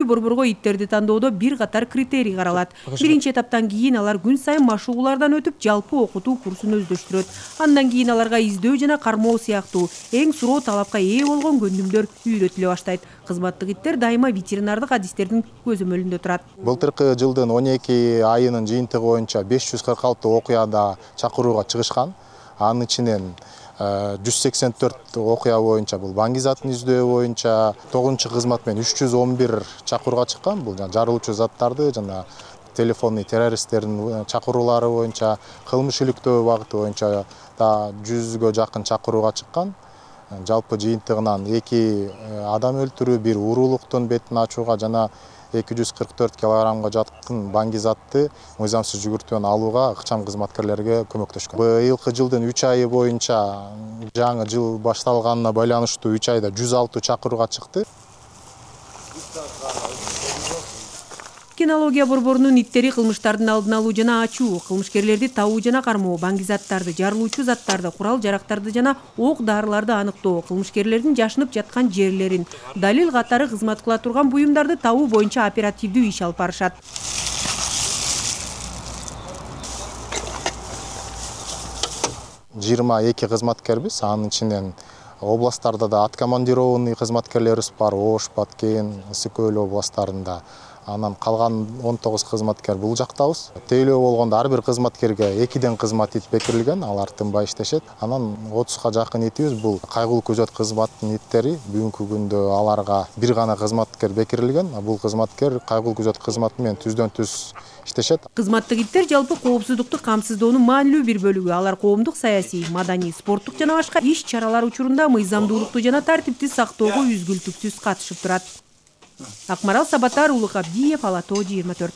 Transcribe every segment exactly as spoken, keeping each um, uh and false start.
борборго иттерди тандоодо бир катар критерий каралат. Биринчи этаптан кийин алар күн сайын машыгуулардан өтүп, жалпы окутуу курсун өздөштүрөт. Андан кийин аларга издөө жана кармоо сыяктуу эң суроо талапка ээ болгон көндүмдөр үйрөтүлө баштайт. Кызматтык иттер дайыма ветеринардык адистердин көзөмөлүндө турат. Былтыркы жылдын он эки айынын жыйынтыгы боюнча беш жүз кырк алты окуяда чакырууга чыгышкан. Анын ичинен жүз сексен төрт окуя боюнча бул баңгизатын издөө боюнча, тогузунчу кызмат менен үч жүз он бир чакырууга чыккан. Бул жана жарылуучу заттарды жана телефонный террористтердин чакыруулары боюнча, кылмыш иликтөө багыты боюнча да жүзгө жакын чакырууга чыккан. Жалпы жыйынтыгынан эки адам өлтүрүү, бир уурулуктун бетин ачууга жана эки жүз кырк төрт килограммга жакын баңгизатты мыйзамсыз жүгүртүүнү алууга ыкчам кызматкерлерге көмөктөшкөн. Быйылкы жылдын үч айы боюнча жаңы жыл башталганына байланыштуу үч айда жүз алты чакырууга чыкты. Кинология борборунун иттери кылмыштардын алдын алуу жана ачуу, кылмышкерлерди табуу жана кармоо, баңгизаттарды, жарылуучу заттарды, курал-жарактарды жана ок-дарыларды аныктоо, кылмышкерлердин жашынып жаткан жерлерин, далил катары кызмат кыла турган буюмдарды табуу боюнча оперативдүү иш алып барышат. жыйырма эки кызматкербиз, анын ичинен областтарда да откомандированный кызматкерлерибиз бар, Ош, Баткен, Ысык Көл областтарында. Анан калган он тогуз кызматкер бул жактабыз. Тейлөө болгондо ар бир кызматкерге экиден кызмат ит бекирилген, алар тынбай иштешет. Анан отузга жакын итибиз бул кайгылуу күзөт кызматтын иттери. Бүгүнкү күндө аларга бир гана кызматкер бекирилген. Бул кызматкер кайгылуу күзөт кызматы менен түздөн түз иштешет. Кызматтык иттер жалпы коопсуздукту камсыздоонун маанилүү бир бөлүгү. Алар коомдук, саясий, маданий, спорттук жана башка иш-чаралар учурунда мыйзамдуулукту жана тартипти сактоого үзгүлтүксүз катышып турат. Акмарал Сабатар, Улук Абдиев, Ала тоо жыйырма төрт.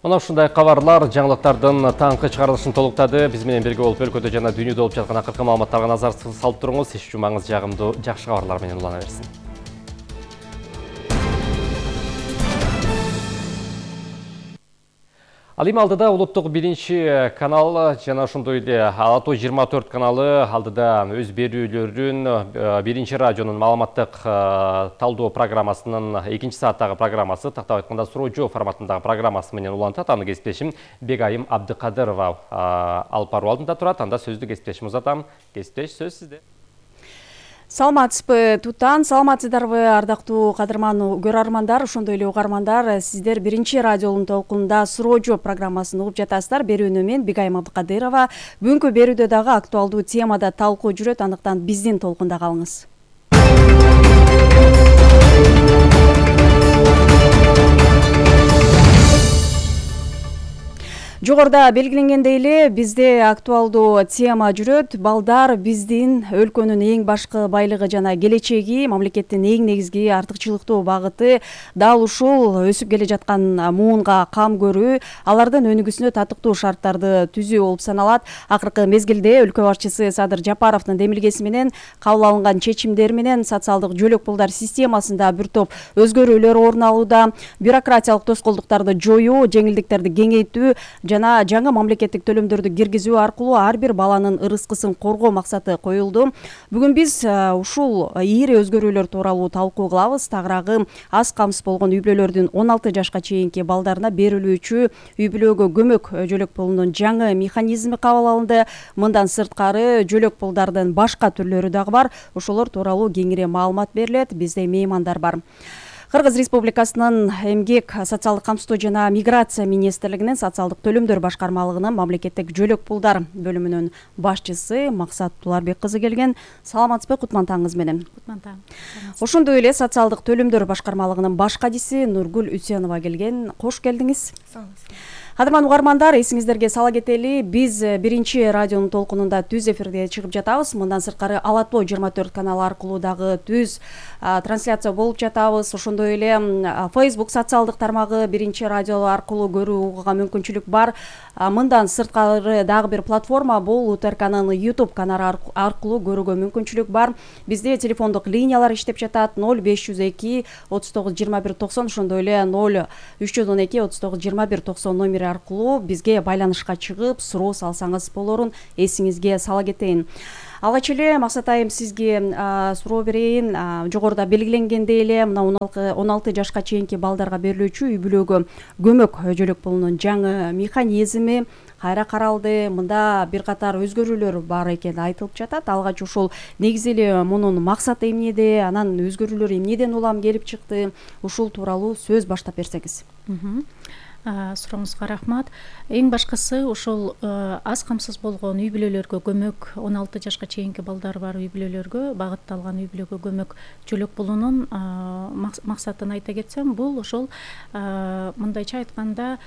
Мына ушундай кабарлар жаңылыктардын таңкы чыгарылышын толуктады. Биз менен бирге болуп өлкөдө жана дүйнөдө болуп жаткан акыркы маалыматтарга назар салып туруңуз. Иш жумаңыз жагымдуу, жакшы кабарлар менен улана берсин. Ал эми алдыда улуттук биринчи канал жана ошондой эле Ала тоо жыйырма төрт каналы алдыда өз берүүлөрүн биринчи радионун маалыматтык талдоо программасынын экинчи сааттагы программасы, тактап айтканда суроо жооп форматындагы программасы менен улантат. Аны кесиптешим Бегайым Абдыкадырова алып баруу алдында турат. Анда сөздү кесиптешим узатам. Кесиптеш, сөз сизде. Саламатсызбы, Тутан, саламатсыздарбы, ардактуу кадырман көрөрмандар, ошондой эле угармандар. Сиздер биринчи радионун толкунунда суроо жооп программасын угуп жатасыздар. Берүүнү мен Бегайым Абдыкадырова. Бүгүнкү берүүдө дагы актуалдуу темада талкуу жүрөт, андыктан биздин толкунда калыңыз. Жогоруда белгиленгендей эле бизде актуалдуу тема жүрөт. Балдар биздин өлкөнүн эң башкы байлыгы жана келечеги, мамлекеттин эң негизги артыкчылыктуу багыты. Дал ушул өсүп келе жаткан муунга кам көрүү, алардын өнүгүүсүнө татыктуу шарттарды түзүү болуп саналат. Акыркы мезгилде өлкө башчысы Садыр Жапаровдун демилгеси менен кабыл алынган чечимдер менен социалдык жөлөк пулдар системасында бир топ өзгөрүүлөр орун алууда. Бюрократиялык тоскоолдуктарды жоюу, жеңилдиктерди кеңейтүү жана жаңы мамлекеттик төлөмдөрдү киргизүү аркылуу ар бир баланын ырыскысын коргоо максаты коюлду. Бүгүн биз ушул ийри өзгөрүүлөр тууралуу талкуу кылабыз. Тагыраагы аз камсыз болгон үй бүлөлөрдүн он алты жашка чейинки балдарына берилүүчү үй бүлөгө көмөк жөлөк пулунун жаңы механизми кабыл алынды. Мындан сырткары жөлөк пулдардын башка түрлөрү дагы бар. Ошолор тууралуу кеңири маалымат берилет. Бизде меймандар бар. Кыргыз Республикасынын эмгек, социалдык камсыздоо жана миграция министрлигинин социалдык төлөмдөр башкармалыгынын мамлекеттик жөлөк пулдар бөлүмүнүн башчысы Максат Туларбек кызы келген. Саламатсызбы, кутман таңыңыз менен. Кутман таң. Ошондой эле социалдык төлөмдөр башкармалыгынын баш кадиси Нургүл Үсенова келген. Кош келдиңиз. Кадырман угармандар, эсиңиздерге сала кетели, биз биринчи радионун толкунунда түз эфирге чыгып жатабыз. Мындан сырткары Ала тоо жыйырма төрт каналы аркылуу дагы түз трансляция болуп жатабыз. Ошондой эле Facebook социалдык тармагы биринчи радио аркылуу көрүүгө мүмкүнчүлүк бар. Мындан сырткары дагы бир платформа бул УТРКнын YouTube каналы аркылуу көрүүгө мүмкүнчүлүк бар. Бизде телефондук линиялар иштеп жатат: ноль беш жүз эки отуз тогуз жыйырма бир токсон, ошондой эле ноль үч жүз он эки отуз тогуз жыйырма бир токсон номери аркылуу бизге байланышка чыгып суроо салсаңыз болорун эсиңизге сала кетейин. Алгач эле Максат айым сизге суроо берейин. Жогоруда белгиленгендей эле мына он алты жашка чейинки балдарга берилүүчү үй бүлөгө көмөк жөлөк пулунун жаңы механизми кайра каралды. Мында бир катар өзгөрүүлөр бар экени айтылып жатат. Алгач ушул негизи эле мунун максаты эмнеде, анан өзгөрүүлөр эмнеден улам келип чыкты? Ушул тууралуу сөз баштап берсеңиз. Сурооңузга рахмат. Эң башкысы ушул аз камсыз болгон үй бүлөлөргө көмөк, он алты жашка чейинки балдары бар үй бүлөлөргө багытталган үй бүлөгө көмөк жөлөк пулунун максатын айта кетсем, бул ошол мындайча айтканда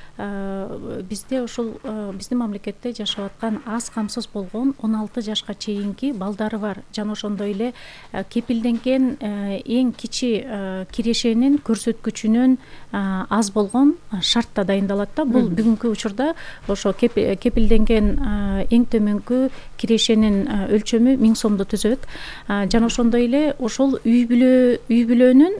бизде ушул биздин мамлекетте жашап аткан аз камсыз болгон он алты жашка чейинки балдары бар жана ошондой эле кепилденген эң кичи кирешенин көрсөткүчүнөн аз болгон шартта дайындалат да. Бул бүгүнкү учурда ошо кепилденген эң төмөнкү кирешенин өлчөмү миң сомду түзөт. Жана ошондой эле ошол үй бүлө үй бүлөнүн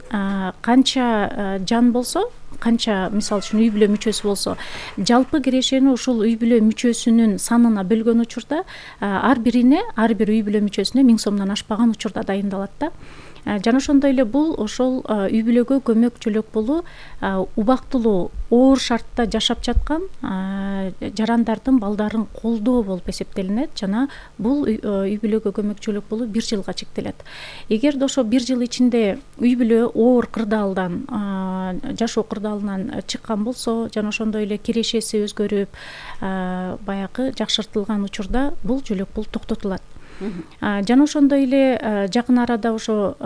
канча жан болсо, канча мисалы үчүн үй бүлө мүчөсү болсо, жалпы кирешени ушул үй бүлө мүчөсүнүн санына бөлгөн учурда ар бирине, ар бир үй бүлө мүчөсүнө миң сомдон ашпаган учурда дайындалат да. Жана ошондой эле бул ошол үй бүлөгө көмөк жөлөк пулу убактылуу оор шартта жашап жаткан жарандардын балдарын колдоо болуп эсептелинет жана бул үй бүлөгө көмөк жөлөк пулу бир жылга чектелет. Эгерде ошо бир жыл ичинде үй бүлө оор кырдаалдан, жашоо кырдаалынан чыккан болсо жана ошондой эле кирешеси өзгөрүп, баягы жакшыртылган учурда бул жөлөк пул токтотулат. Жана ошондой эле жакын арада ошо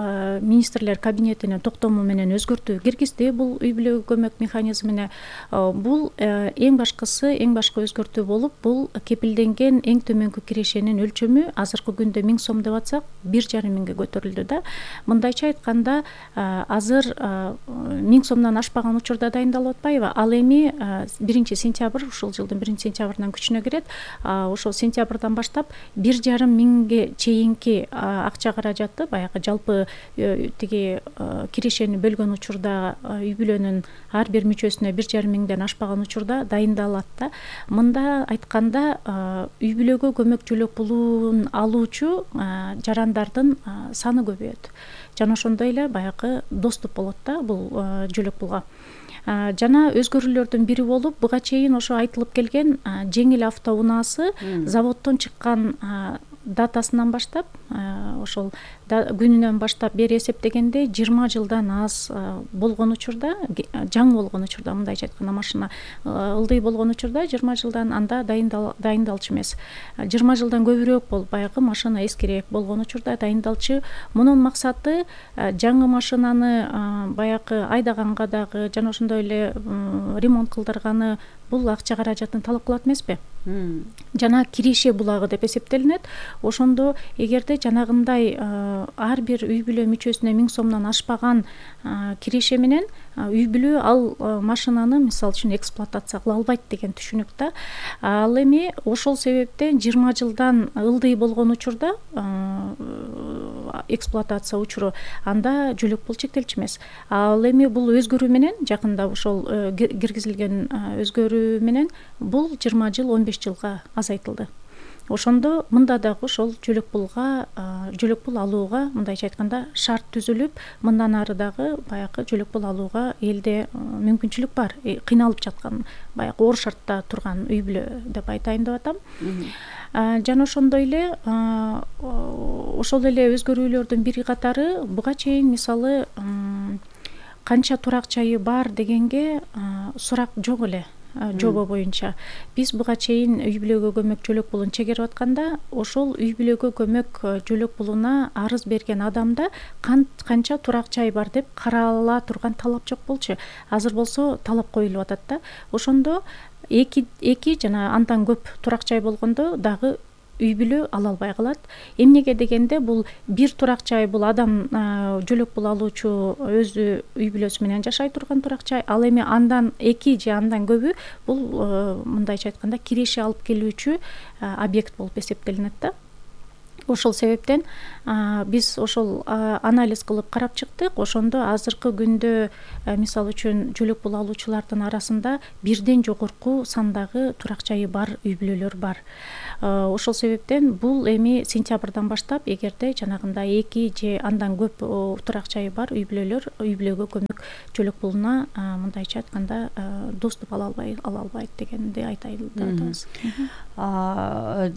министрлер кабинетинин токтому менен өзгөртүү киргизди бул үй бүлөгө көмөк механизмине. Бул эң башкысы, эң башкы өзгөртүү болуп, бул кепилденген эң төмөнкү кирешенин өлчөмү азыркы күндө миң сом деп атсак, бир жарым миңге көтөрүлдү да. Мындайча айтканда, азыр миң сомдон ашпаган учурда дайындалып атпайбы? Ал эми биринчи сентябрь, ушул жылдын биринчи сентябрынан күчүнө кирет. Ошол сентябрдан баштап бир жарым миң чейинки акча каражаты, баягы жалпы тиги кирешени бөлгөн учурда үй бүлөнүн ар бир мүчөсүнө бир жарым миңден ашпаган учурда дайындалат да. Мында айтканда үй бүлөгө көмөк жөлөк пулун алуучу жарандардын саны көбөйөт. Жана ошондой эле баягы доступ болот да бул жөлөк пулга. Жана өзгөрүүлөрдүн бири болуп, буга чейин ошо айтылып келген жеңил автоунаасы заводдон чыккан датасынан баштап, ошол күнүнөн баштап бери эсептегенде жыйырма жылдан аз болгон учурда, жаңы болгон учурда, мындайча айтканда машина ылдый болгон учурда жыйырма жылдан анда дайындалчу эмес. жыйырма жылдан көбүрөөк болуп, баягы машина эскирээк болгон учурда дайындалчу. Мунун максаты жаңы машинаны баягы айдаганга дагы жана ошондой эле ремонт кылдырганы бул акча каражатын талап кылат эмеспи? Жана киреше булагы деп эсептелинет. Ошондо эгерде жанагындай ар бир үй бүлө мүчөсүнө миң сомдон ашпаган киреше менен үй бүлө ал машинаны мисалы үчүн эксплуатация кыла албайт деген түшүнүк да. Ал эми ошол себептен жыйырма жылдан ылдый болгон учурда эксплуатация учуру анда жөлөк пул чектелчү эмес. Ал эми бул өзгөрүү менен жакында ошол киргизилген өзгөрүү менен бул жыйырма жыл он беш жылга азайтылды. Ошондо мында дагы ошол жөлөк пулга, жөлөк пул алууга, мындайча айтканда, шарт түзүлүп, мындан ары дагы баягы жөлөк пул алууга элде мүмкүнчүлүк бар. Кыйналып жаткан, баягы оор шартта турган үй бүлө деп айтайын деп атам. Жана ошондой эле ошол эле өзгөрүүлөрдүн бир катары буга чейин мисалы канча турак жайы бар дегенге сурак жок эле. Жобо боюнча биз буга чейин үй бүлөгө көмөк жөлөк пулун чегерип атканда ошол үй бүлөгө көмөк жөлөк пулуна арыз берген адамда канча турак жай бар деп карала турган талап жок болчу. Азыр болсо талап коюлуп атат да. Ошондо эки эки жана андан көп турак жай болгондо дагы үй бүлө ала албай калат. Эмнеге дегенде бул бир турак жай, бул адам жөлөк пул алуучу өзү үй бүлөсү менен жашай турган турак жай. Ал эми андан эки же андан көбү бул мындайча айтканда киреше алып келүүчү объект болуп эсептелинет да. ошол себептен биз ошол анализ кылып карап чыктык. Ошондо азыркы күндө мисалы үчүн жөлөк пул алуучулардын арасында бирден жогорку сандагы турак жайы бар үй бүлөлөр бар. Ошол себептен бул эми сентябрдан баштап эгерде жанагындай эки же андан көп турак жайы бар үй бүлөлөр үй бүлөгө көмөк жөлөк пулуна мындайча айтканда доступ ала албай ала албайт дегенди айтайлы деп атабыз.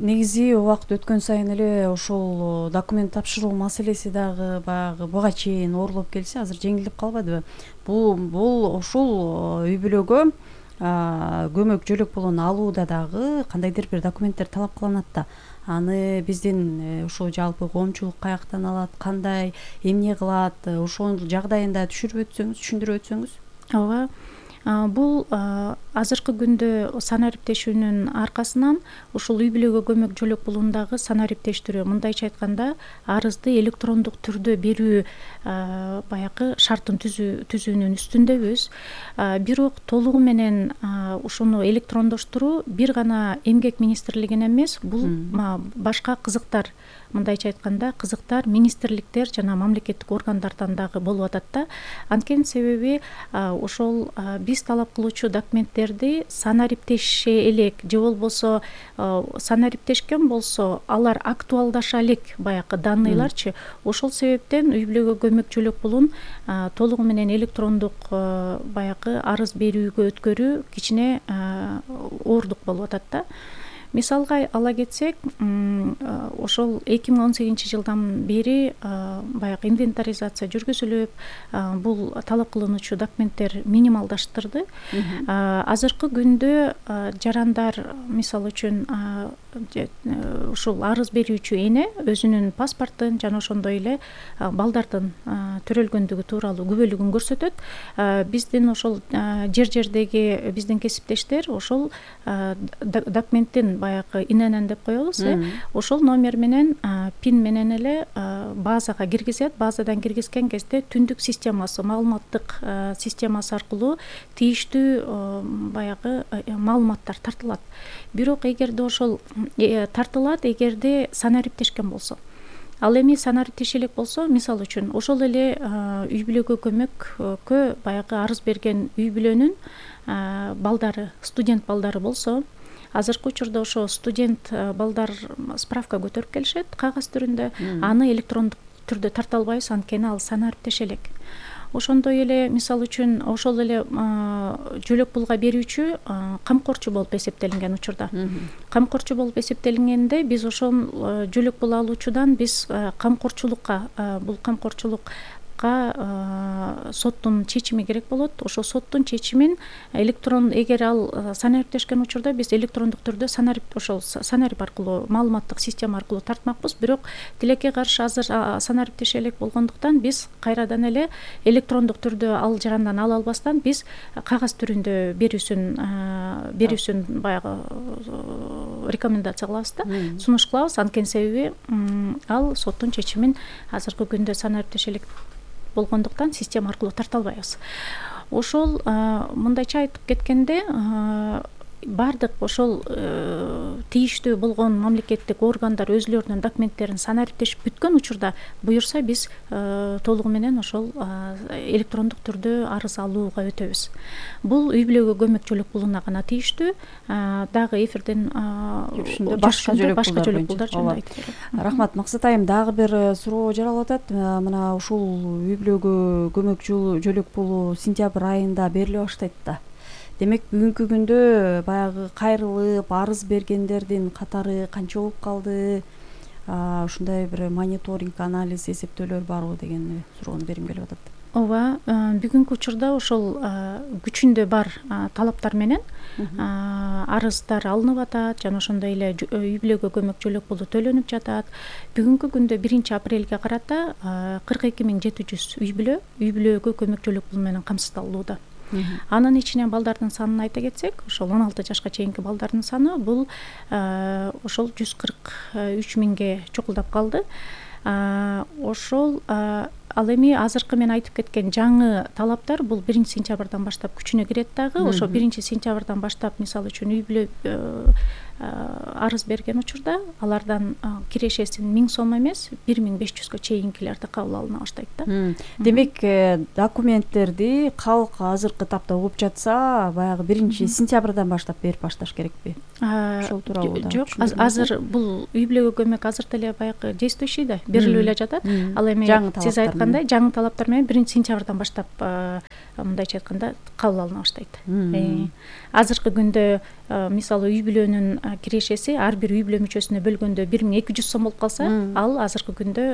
Негизи убакыт өткөн сайын эле ошол документ тапшыруу маселеси дагы баягы буга чейин оорулуп келсе, азыр жеңилдеп калбадыбы? Бул бул ушул үй бүлөгө көмөк жөлөк пулун алууда дагы кандайдыр бир документтер талап кылынат да. Аны биздин ушул жалпы коомчулук каяктан алат, кандай, эмне кылат, ошол жагдайында түшүрүп өтсөңүз, түшүндүрүп өтсөңүз. Ооба. Бул азыркы күндө санариптешүүнүн аркасынан ушул үй бүлөгө көмөк жөлөк пулундагы санариптештирүү, мындайча айтканда арызды электрондук түрдө берүү баягы шартын түзүүнүн үстүндөбүз. Бирок толугу менен ушуну электрондоштуруу бир гана эмгек министрлигине эмес, бул башка кызыктар, мындайча айтканда кызыктар министрликтер жана мамлекеттик органдардан дагы болуп атат да. Анткени себеби ошол биз талап кылуучу документтерди санариптеше элек же болбосо санариптешкен болсо алар актуалдаша элек баягы данныйларчы. Ошол себептен үй бүлөгө көмөк жөлөк пулун толугу менен электрондук баягы арыз берүүгө өткөрүү кичине оордук болуп атат да. Мисалга ала кетсек, ошол эки миң он сегизинчи жылдан бери баягы инвентаризация жүргүзүлүп, бул талап кылынуучу документтер минималдаштырды. Азыркы күндө жарандар, мисалы үчүн, ушул арыз берүүчү эне өзүнүн паспортун жана ошондой эле балдардын төрөлгөндүгү тууралуу күбөлүгүн көрсөтөт. Биздин ошол жер-жердеги биздин кесиптештер ошол документтин баягы инн деп коебуз, ошол номер менен пин менен эле базага киргизет. Базадан киргизген кезде түндүк системасы, маалыматтык системасы аркылуу тийиштүү баягы маалыматтар тартылат. Бирок эгерде ошол тартылат, эгерде санариптешкен болсо. Ал эми санариптеше элек болсо, мисалы үчүн, ошол эле үй бүлөгө көмөккө баягы арыз берген үй бүлөнүн балдары, студент балдары болсо, азыркы учурда ошо студент балдар справка көтөрүп келишет кагаз түрүндө, аны электрондук түрдө тарта албайбыз, анткени ал санариптеше элек. Ошондой эле мисалы үчүн ошол эле жөлөк пулга берүүчү камкорчу болуп эсептелинген учурда. Камкорчу болуп эсептелингенде биз ошол жөлөк пул алуучудан биз камкорчулукка, бул камкорчулукка соттун чечими керек болот. Ошол соттун чечимин электрон, эгер ал санариптешкен учурда биз электрондук түрдө санарип ошол санарип аркылуу, маалыматтык система аркылуу тартмакпыз. Бирок тилекке каршы азыр санариптеше элек болгондуктан биз кайрадан эле электрондук түрдө ал жарандан ала албастан биз кагаз түрүндө берүүсүн берүүсүн баягы рекомендация кылабыз да, сунуш кылабыз. Анткени себеби ал соттун чечимин азыркы күндө санариптеше элек болгондуктан система аркылуу тарта албайбыз. Ошол мындайча айтып кеткенде, бардык ошол тийиштүү болгон мамлекеттик органдар өзүлөрүнүн документтерин санариптешип бүткөн учурда буюрса, биз толугу менен ошол электрондук түрдө арыз алууга өтөбүз. Бул үй бүлөгө көмөк жөлөк пулуна гана тийиштүү, дагы эфирден башка жөлөк пулдар жөнүндө айтып берем. Рахмат, Максат айым, дагы бир суроо жаралып атат. Мына ушул үй бүлөгө көмөк жөлөк пулу сентябрь айында бериле баштайт да. Демек, бүгүнкү күндө баягы кайрылып арыз бергендердин катары канча болуп калды? Ушундай бир мониторинг, анализ, эсептөөлөр барбы деген суроону бергим келип атат. Ооба, бүгүнкү учурда ошол күчүндө бар талаптар менен арыздар алынып атат, жана ошондой эле үй бүлөгө көмөк жөлөк пулу төлөнүп жатат. Бүгүнкү күндө биринчи апрелге карата кырк эки миң жети жүз үй бүлө үй бүлөгө көмөк жөлөк пулу менен камсыздалууда. Анын ичинен балдардын санын айта кетсек, ошол он алты жашка чейинки балдардын саны бул ошол жүз кырк үч миңге чукулдап калды. Ошол ал эми азыркы мен айтып кеткен жаңы талаптар бул биринчи сентябрдан баштап күчүнө кирет дагы. Ошо биринчи сентябрдан баштап мисалы үчүн үй бүлө арыз берген учурда алардан кирешесин миң сом эмес бир миң беш жүзгө чейинкилерди кабыл алына баштайт да. Демек документтерди калк азыркы тапта угуп жатса баягы биринчи сентябрдан баштап берип башташ керекпи? Ошол тууралуу жок, азыр бул үй бүлөгө көмөк азыр деле баягы действующий да, берилип эле жатат. Ал эми сиз айткандай жаңы талаптар менен биринчи сентябрдан баштап мындайча айтканда кабыл алына баштайт. Азыркы күндө мисалы үй бүлөнүн кирешеси ар бир үй бүлө мүчөсүнө бөлгөндө бир миң эки жүз сом болуп калса, ал азыркы күндө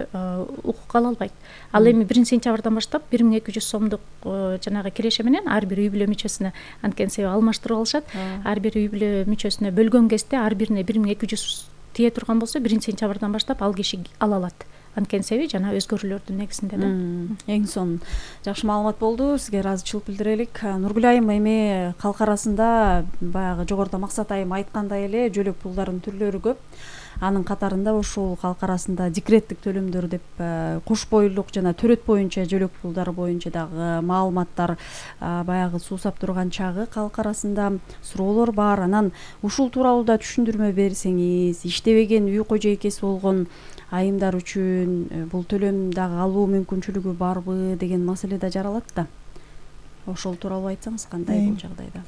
укук ала албайт. Ал эми биринчи сентябрдан баштап бир миң эки жүз сомдук жанагы киреше менен ар бир үй бүлө мүчөсүнө анткени себеби алмаштырып алышат. Ар бир үй бүлө мүчөсүнө бөлгөн кезде ар бирине бир миң эки жүз тие турган болсо биринчи сентябрдан баштап ал киши ала алат. Анткени себеби жана өзгөрүүлөрдүн негизинде да. Эң сонун жакшы маалымат болду. Сизге ыраазычылык билдирелик. Нургүл айым, эми калк арасында баягы жогоруда Максат айым айткандай эле жөлөк пулдардын түрлөрү көп. Анын катарында ушул калк арасында декреттик төлөмдөр деп кош бойлук жана төрөт боюнча жөлөк пулдары боюнча дагы маалыматтар баягы суусап турган чагы калк арасында суроолор бар. Анан ушул тууралуу да түшүндүрмө берсеңиз, иштебеген үй кожо экеси болгон айымдар үчүн бул төлөм дагы алуу мүмкүнчүлүгү барбы деген маселе да жаралат да. Ошол тууралуу айтсаңыз кандай бул жагдайда?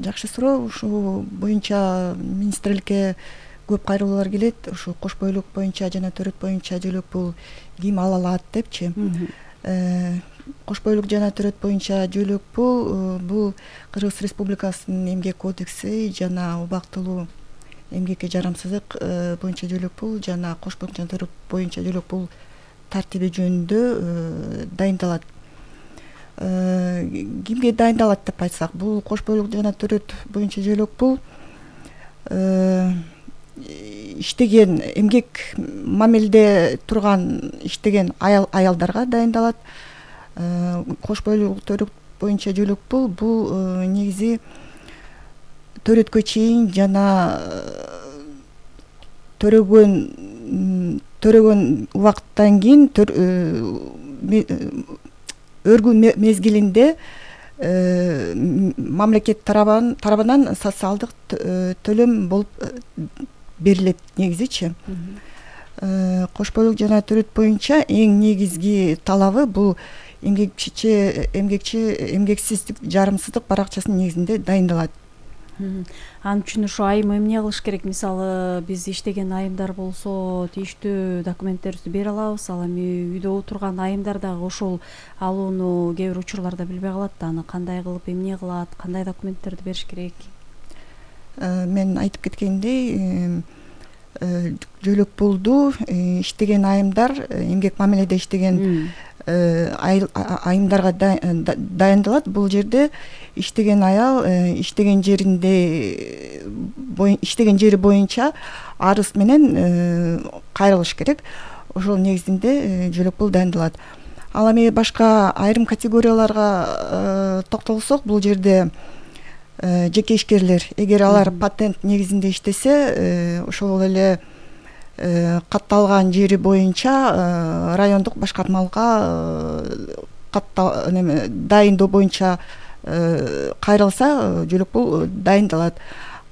Жакшы суроо. Ушул боюнча министрликке көп кайрылуулар келет. Ушу кош бойлук боюнча жана төрөт боюнча жөлөк пул ким ала алат депчи. Кош бойлук жана төрөт боюнча жөлөк пул бул Кыргыз Республикасынын эмгек кодекси жана убактылуу эмгекке жарамсыздык боюнча жөлөк пул жана кош бойлук жана төрөт боюнча жөлөк пул тартиби жөнүндө дайындалат. Кимге дайындалат деп айтсак, бул кош бойлук жана төрөт боюнча жөлөк пул иштеген эмгек мамилде турган иштеген аялдарга дайындалат. Кош бойлук төрөт боюнча жөлөк пул бул негизи төрөткө чейин жана төрөгөн төрөгөн убакыттан кийин өргүү мезгилинде мамлекет тарабынан социалдык төлөм болуп берилет негизичи. Кош бойлук жана төрөт боюнча эң негизги талабы бул эмгекчи эмгекчи эмгексиздик жарымсыздык баракчасынын негизинде дайындалат. Ал үчүн ушу айым эмне кылыш керек? Мисалы биз иштеген айымдар болсо тийиштүү документтерибизди бере алабыз. Ал эми үйдө отурган айымдар дагы ошол алууну кээ бир учурларда билбей калат да. Аны кандай кылып, эмне кылат, кандай документтерди бериш керек? Мен айтып кеткендей, жөлөк пулду иштеген айымдар, эмгек мамиледе иштеген айымдарга дайындалат. Бул жерде иштеген аял иштеген жеринде иштеген жери боюнча арыз менен кайрылыш керек. Ошол негизинде жөлөк пул дайындалат. Ал эми башка айрым категорияларга токтолсок, бул жерде жеке ишкерлер, эгер алар патент негизинде иштесе, ошол эле катталган жери боюнча райондук башкармалга дайындоо боюнча кайрылса, жөлөк пул дайындалат.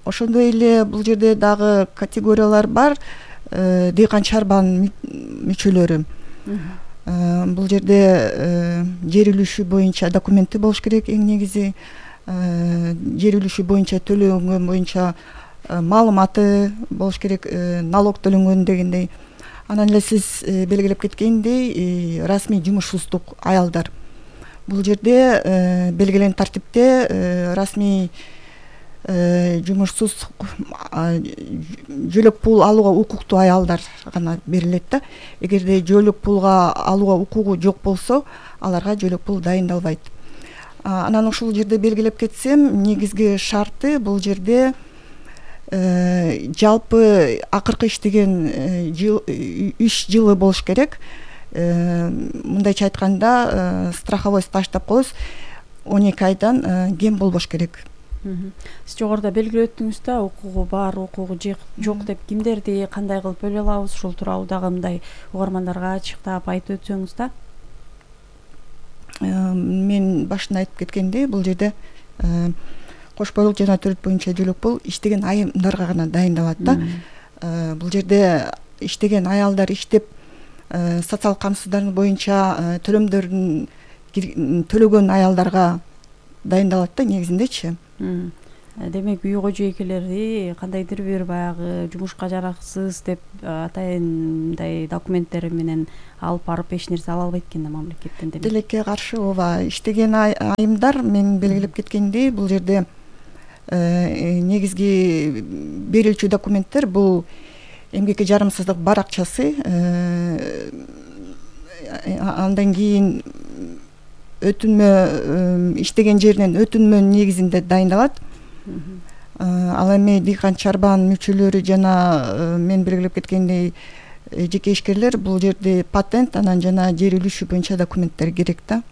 Ошондой эле бул жерде дагы категориялар бар. Дыйкан чарбанын мүчөлөрү. Бул жерде жер үлүшү боюнча документи болуш керек эң негизи. Жер үлүшү боюнча төлөнгөн боюнча маалыматы болуш керек, налог төлөнгөн дегендей. Анан эле сиз белгилеп кеткендей, расмий жумушсуздук аялдар. Бул жерде белгиленген тартипте расмий жумушсуз жөлөк пул алууга укуктуу аялдар гана берилет да. Эгерде жөлөк пулга алууга укугу жок болсо, аларга жөлөк пул дайындалбайт. Анан ушул жерде белгилеп кетсем, негизги шарты бул жерде жалпы акыркы иштеген жыл үч жылы болуш керек. Мындайча айтканда, страховой стаж деп коебуз, он эки айдан кем болбош керек. Сиз жогоруда белгилеп өттүңүз да, укугу бар, укугу жок деп кимдерди кандай кылып бөлө алабыз? Ушул тууралуу дагы мындай угармандарга ачыктап айтып өтсөңүз да. мен башында айтып кеткендей, бул жерде кош бойлук жана төрөт боюнча жөлөк пул иштеген айымдарга гана дайындалат да. Бул жерде иштеген аялдар иштеп социалдык камсыздандыруу боюнча төлөмдөрүн төлөгөн аялдарга дайындалат да негизиндечи. Демек үй кожо экелери кандайдыр бир баягы жумушка жараксыз деп атайындай документтери менен алып барып эч нерсе ала албайт экен да мамлекеттен. Демек тилекке каршы ооба иштеген айымдар мен белгилеп кеткендей, бул жерде негизги берүүчү документтер бул эмгекке жарамсыздык баракчасы, андан кийин өтүнмө иштеген жеринен өтүнмө негизинде дайындалат. Ал эми дыйкан чарбан мүчөлөрү жана мен белгилеп кеткендей жеке ишкерлер бул жерде патент анан жана жер үлүшү боюнча документтер керек да.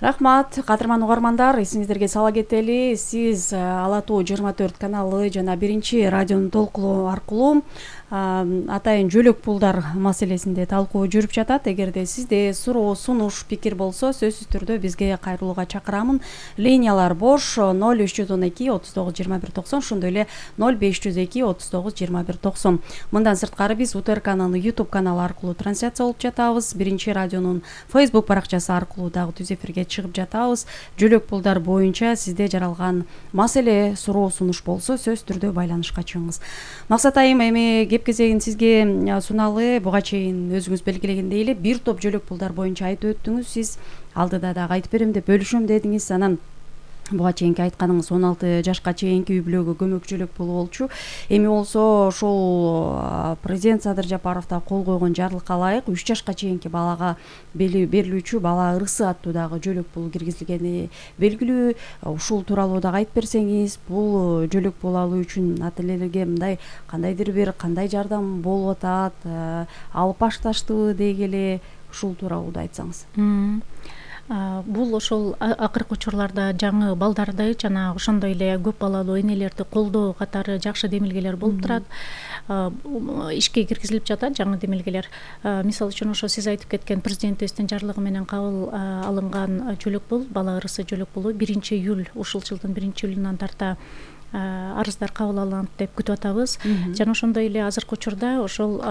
Рахмат, кадырман угармандар, эсиңиздерге сала кетели, сиз Ала Тоо жыйырма төрт каналы жана биринчи радионун толкулуу аркылуу атайын жөлөк пулдар маселесинде талкуу жүрүп жатат. Эгерде сизде суроо, сунуш, пикир болсо, сөзсүз түрдө бизге кайрылууга чакырамын. Линиялар бош ноль үч жүз он эки отуз тогуз жыйырма бир токсон, ошондой эле ноль беш жүз эки отуз тогуз жыйырма бир токсон. Мындан сырткары биз УТРКнын YouTube каналы аркылуу трансляция болуп жатабыз. Биринчи радионун Facebook баракчасы аркылуу дагы түз эфирге чыгып жатабыз. Жөлөк пулдар боюнча сизде жаралган маселе, суроо, сунуш болсо, сөзсүз түрдө байланышка чыгыңыз. Максат айым, эми кеп кезегин сизге суналып, буга чейин өзүңүз белгилегендей эле бир топ жөлөк пулдар боюнча айтып өттүңүз. Сиз алдыда дагы айтып берем деп бөлүшөм дедиңиз. Анан буга чейинки айтканыңыз он алты жашка чейинки үй бүлөгө көмөк жөлөк пулу болчу. Эми болсо ошол президент Садыр Жапаров да кол койгон жарлыкка ылайык үч жашка чейинки балага берилүүчү бала ырысы аттуу дагы жөлөк пул киргизилгени белгилүү. Ушул тууралуу дагы айтып берсеңиз, бул жөлөк пул алуу үчүн ата энелерге мындай кандайдыр бир кандай жардам болуп атат, алып башташтыбы деги эле ушул тууралуу да айтсаңыз. Бул ошол акыркы учурларда жаңы балдарды жана ошондой эле көп балалуу энелерди колдоо катары жакшы демилгелер болуп турат. Ишке киргизилип жатат жаңы демилгелер. Мисалы үчүн ошо сиз айтып кеткен президентибиздин жарлыгы менен кабыл алынган жөлөк пул, бала ырысы жөлөк пулу биринчи июль ушул жылдын биринчи июлунан тарта арыздар кабыл алынат деп күтүп атабыз. Жана ошондой эле азыркы учурда ошол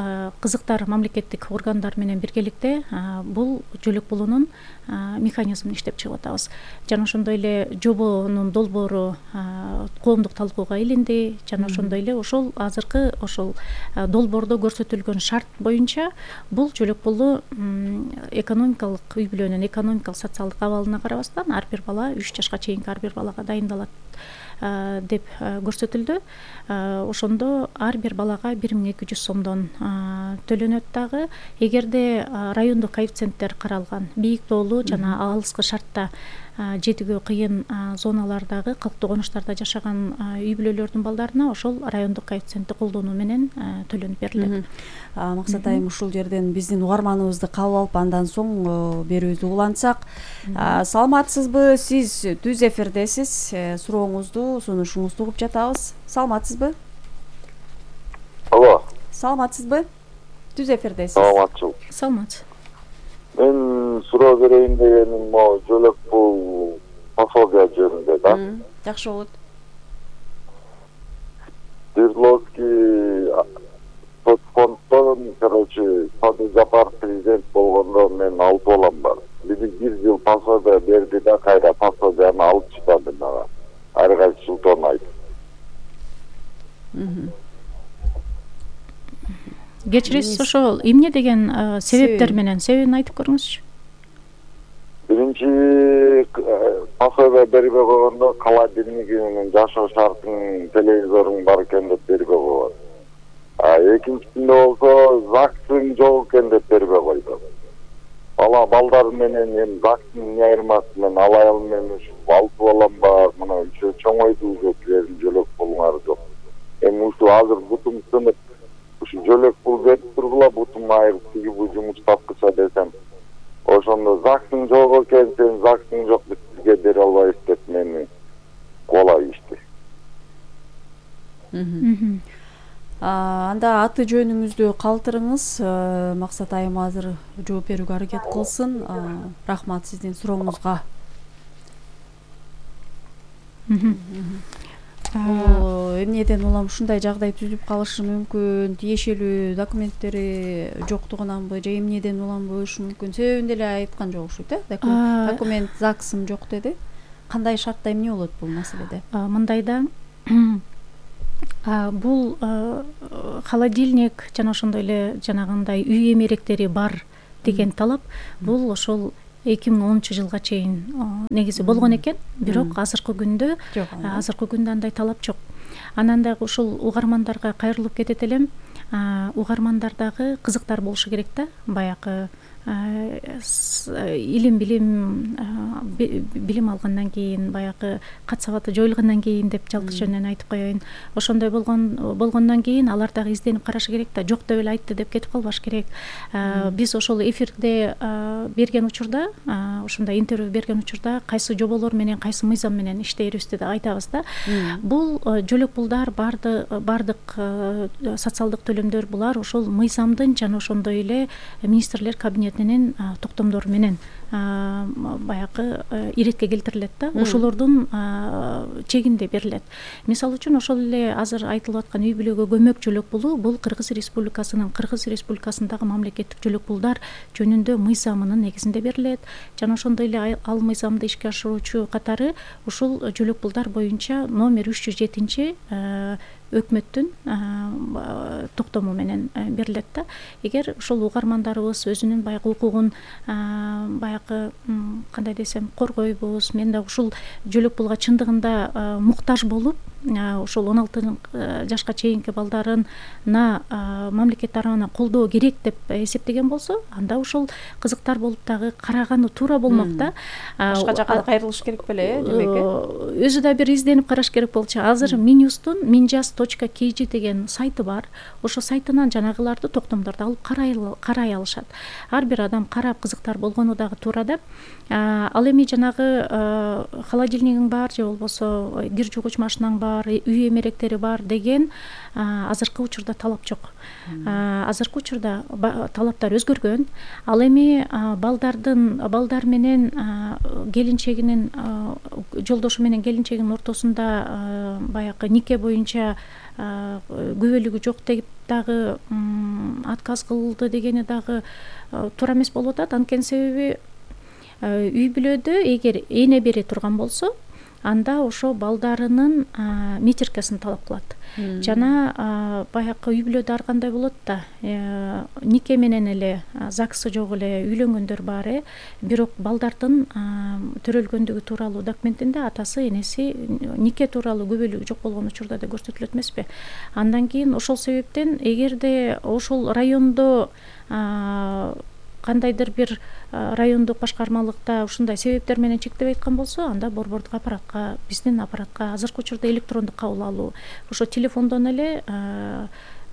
кызыктар мамлекеттик органдар менен биргеликте бул жөлөк пулунун механизмин иштеп чыгып атабыз. Жана ошондой эле жобонун долбоору коомдук талкууга илинди. Жана ошондой эле ошол азыркы ошол долбоордо көрсөтүлгөн шарт боюнча бул жөлөк пулу экономикалык үй бүлөнүн экономикалык социалдык абалына карабастан ар бир бала үч жашка чейинки ар бир балага дайындалат деп көрсөтүлдү. Ошондо ар бир балага бир миң эки жүз сомдон төлөнөт дагы. Эгерде райондук коэффициенттер каралган, бийик тоолуу жана алыскы шартта жетүүгө кыйын зоналардагы калктуу конуштарда жашаган үй бүлөлөрдүн балдарына ошол райондук коэффициентти колдонуу менен төлөнүп берилет. Максат айым, ушул жерден биздин угарманыбызды кабыл алып, андан соң берүүбүздү улантсак. Саламатсызбы? Сиз түз эфирдесиз. Сурооңузду, сунушуңузду угуп жатабыз. Саламатсызбы? Алло. Саламатсызбы? Түз эфирдесиз. Саламатсыз. Саламатсыз. Мен суроо берейин дегеним могу жөлөк пул пособия жөнүндө да. Жакшы болот. Свердловский соцфонддон, короче, Садыр Жапаров президент болгондо мен алып балам бар. Бир бир жыл пособия берди да, кайра пособияны алып чыкты мага. Ар кайсы жылдан айтып. Кечиресиз, ошол эмне деген себептер менен себебин айтып көрүңүзчү. Биринчи пособия бербей койгондо холодильнигинин жашоо шартын, телевизоруң бар экен деп бербей койгон. А экинчисинде болсо ЗАГСың жок экен деп бербей койду. Бала балдар менен эми ЗАГСтын эмне айырмасы менен ал аял менен ушул алып балам бар, мына ушул чоңойду уже силердин жөлөк пулуңар жок. Эми ушул азыр бутум сынып ушу жөлөк пул берип тургула, бутум айырып тиги бул жумуш тапкыча десем, ошондо ЗАГСың жок экен, сен ЗАГСың жок биз сизге бере албайбыз деп мени кубалап ийишти. анда аты жөнүңүздү калтырыңыз, Максат айым азыр жооп берүүгө аракет кылсын. Рахмат сиздин сурооңузга. Эмнеден улам ушундай жагдай түзүлүп калышы мүмкүн? Тиешелүү документтери жоктугунанбы же эмнеден улам болушу мүмкүн? Себебин деле айткан жок окшойт, э? Документ ЗАГСым жок деди. Кандай шартта эмне болот бул маселеде? Мындайда бул холодильник жана ошондой эле жанагындай үй эмеректери бар деген талап бул ошол эки миң онунчу жылга чейин негизи болгон экен, бирок азыркы күндө азыркы күндө андай талап жок. Анан дагы ушул угармандарга кайрылып кетет элем. Угармандар кызыктар болушу керек да, баягы илим билим билим алгандан кийин, баягы кат сабаты жоюлгандан кийин деп жалпы жөнүнөн айтып коеюн. Ошондой болгон болгондон кийин алар дагы изденип карашы керек да, жок деп эле айтты деп кетип калбаш керек. Биз ошол эфирде берген учурда, ошондой интервью берген учурда кайсы жоболор менен, кайсы мыйзам менен иштейбизди деп айтабыз да. Бул жөлөк пулдар бардык социалдык төлөмдөр булар ошол мыйзамдын жана ошондой эле министрлер кабинетинин токтомдору менен баягы иретке келтирилет да, ошолордун чегинде берилет. Мисалы үчүн ошол эле азыр айтылып аткан үй бүлөгө көмөк жөлөк пулу бул Кыргыз Республикасынын Кыргыз Республикасындагы мамлекеттик жөлөк пулдар жөнүндө мыйзамынын негизинде берилет. Жана ошондой эле ал мыйзамды ишке ашыруучу катары ушул жөлөк пулдар боюнча номер үч жүз жетинчи өкмөттүн токтому менен берилет да. Эгер ушул угармандарыбыз өзүнүн баягы укугун баягы кандай десем коргойбуз, мен да ушул жөлөк пулга чындыгында муктаж болуп, ошол он алты жашка чейинки балдарына мамлекет тарабынан колдоо керек деп эсептеген болсо, анда ушул кызыктар болуп дагы караганы туура болмок да. Башка жака кайрылыш керек беле, демек? Өзү да бир изденип караш керек болчу. Азыр Минюстун минжаз точка kg деген сайты бар. Ошо сайтынан жанагыларды токтомдорду алып карай алышат. Ар бир адам карап кызыктар болгону дагы туура да. Ал эми жанагы холодильнигиң бар же болбосо кир жуугуч машинаң бар, үй эмеректери бар деген азыркы учурда талап жок. Азыркы учурда талаптар өзгөргөн. Ал эми балдардын балдар менен келинчегинин жолдошу менен келинчегинин ортосунда баягы нике боюнча күбөлүгү жок деп дагы отказ кылды дегени дагы туура эмес болуп атат. Анткени себеби үй бүлөдө эгер эне бере турган болсо, анда ошо балдарынын метиркасын талап кылат. Жана баягы үй бүлөдө ар кандай болот да, нике менен эле ЗАГСы жок эле үйлөнгөндөр бар, э, бирок балдардын төрөлгөндүгү тууралуу документинде атасы, энеси нике тууралуу күбөлүгү жок болгон учурда да көрсөтүлөт эмеспи? Андан кийин ошол себептен эгерде ошол райондо кандайдыр бир райондук башкармалыкта ушундай себептер менен чектеп айткан болсо, анда борбордук аппаратка, биздин аппаратка азыркы учурда электрондук кабыл алуу, ошо телефондон эле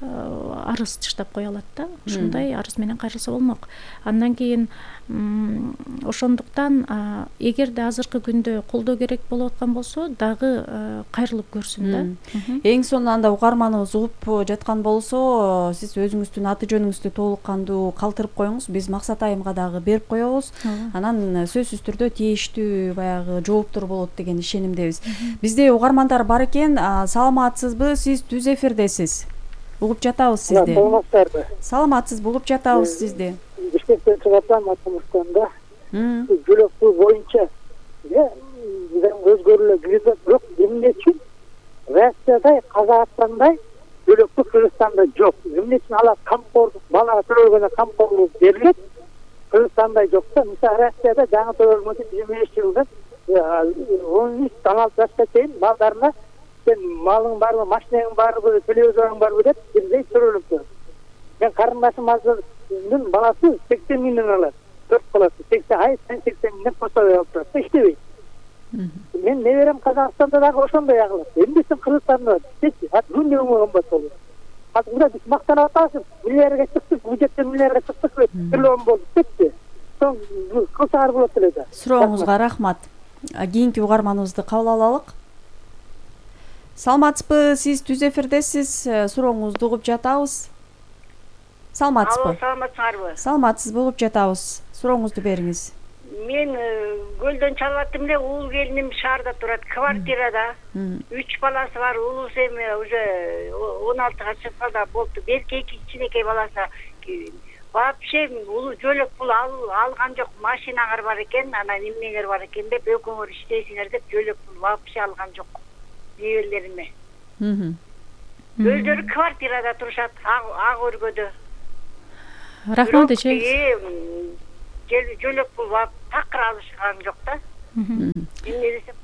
арыз чыштап кое алат да. Ушундай арыз менен кайрылса болмок. Андан кийин ошондуктан эгерде азыркы күндө колдоо керек болуп аткан болсо, дагы кайрылып көрсүн да. Эң сонун анда угарманыбыз угуп жаткан болсо, сиз өзүңүздүн аты жөнүңүздү толук кандуу калтырып коюңуз, биз Максат айымга дагы берип коебуз. Анан сөзсүз түрдө тийиштүү баягы жооптор болот деген ишенимдебиз. Бизде угармандар бар экен. Саламатсызбы? Сиз түз эфирдесиз. Угуп жатабыз сизди. Саламатсызбы? Саламатсызбы, угуп жатабыз сизди. Бишкектен чыгатам, Атамыштанда. Жөлөк пул боюнча өзгөрүлө кирди, бирок эмне үчүн Россияда, Казакстанда жөлөк пул, Кыргызстанда жок. Эмне үчүн алар камкордук, балага төлөгөнө камкорлук берилет, Кыргызстанда жок да. Мисалы Россияда жаңы төлөгөнчө жыйырма беш жылда он үч он алты жашка чейин балдарына сен малың барбы, машинең барбы, телевизорың барбы деп бирдей төлөлүп турат. Мен карындашым азырдын баласы сексен миңден алат. Төрт баласы сексен ай, сексен миңден пособие алып турат. Иштебейт. Мен неберем Казакстанда дагы ошондой агылат. Эмне үчүн Кыргызстанда депчи, ат күндө кымбат болот. Азыр мында биз мактанып атабыз, миллиардга чыктык, бюджеттен миллиардга чыктык, триллион болдук депчи. Соң кылсаңар болот эле да. Сурооңузга рахмат. Кийинки угарманыбызды кабыл алалык. Саламатсызбы, сиз түз эфирдесиз, сурооңузду угуп жатабыз. Саламатсызбы? Алло, саламатсыңарбы? Саламатсызбы, угуп жатабыз. Сурооңузду бериңиз. Мен көлдөн чалып аттым эле, уул келиним шаарда турат, квартирада. Үч баласы бар, улуусу эми уже он алтыга чыкканда болду. Белки эки кичинекей баласы. Вообще улуу жөлөк пул алган жок, машинаңар бар экен, анан эмнеңер бар экен деп, экөөңөр иштейсиңер деп жөлөк пул вообще алган жок. Небелериме. Өздөрү квартирада турушат, ак өргөдө. Рахмат эже. Жөлөк пул такыр алышкан жок да. Эмне десем?